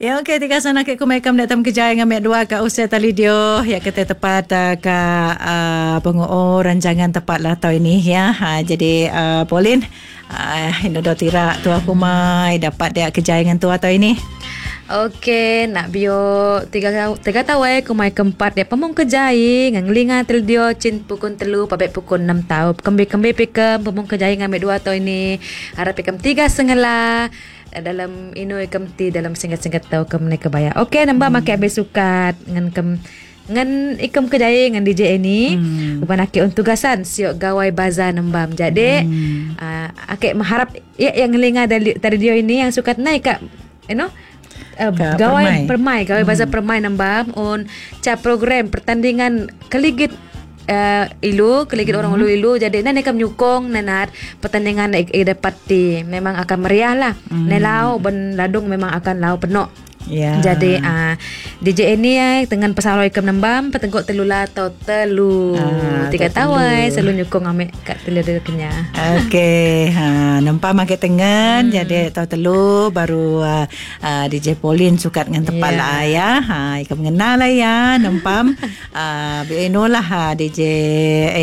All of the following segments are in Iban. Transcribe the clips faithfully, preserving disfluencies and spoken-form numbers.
Ya okey tiga sana ke kumekam datang kejaya ngamek dua ka usia tali dio ya kita tepat uh, ka uh, penguo rancangan tepat lah tau ini ya. Ha, jadi uh, Pauline uh, ini do tira tua kumai dapat dia kejaya dengan tua tau ini. Okey, nak bio tiga tiga tawai kumai keempat dia pemung kejai nganglinga tel dio cin pukul telu pabek pukul enam tau. Kembi-kembi pikem pemung kejai ngamek dua tau ini. Harap pikem tiga sengela dalam inu ikem ti dalam singkat-singkat tau kem ne kebaya. Okey, nambah hmm. make habis sukat ngan kem ngan ikem kejai ngan D J ini. Hmm. Uban ake untuk tugasan siok gawai baza nembam. Jadi hmm. uh, ake mengharap ya yang ngelinga dari dari dia ini yang sukat naik kak you know Uh, gawai permai, gawai hmm. baza permai nembam on ca program pertandingan keligit uh, ilu, keligit hmm. orang ulu ilu. Jadi nane kam nyukong nanat pertandingan ik, ik dapat ti memang akan meriah lah. Hmm. Nelau ben ladung memang akan lau penuh. Yeah. Jadi uh, D J ini ya dengan pesawat ikam nembam petenggok telula atau telu ah, tiga tawai selalu nyukong ame kat telu dia kenya. Okey, ha nampak make tengen hmm. jadi tau telu baru uh, uh, D J Pauline sukat dengan tepat yeah. lah ya. Ha ikam mengenal lah ya nempam uh, bi lah ha D J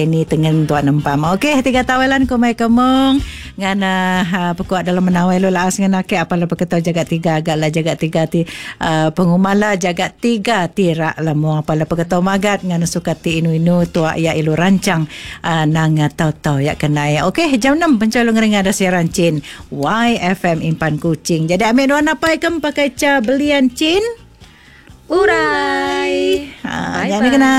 ini tengen tuan nempam. Okey, tiga tawalan kumai kemong ngan uh, pekuat dalam menawai lo laas ngan ake apalah peketau jaga tiga agak lah jaga tiga ti Uh, pengumala jaga tiga tirak lah mo apalah peketau magat ngan suka ti inu-inu tua ya ilu rancang uh, nang tau-tau ya kenai. Okey, jam enam pencalung ring ada siaran Cin Y F M Impan Kucing. Jadi ambil dua napai kem pakai ca belian Cin Urai. Ha, jangan kena.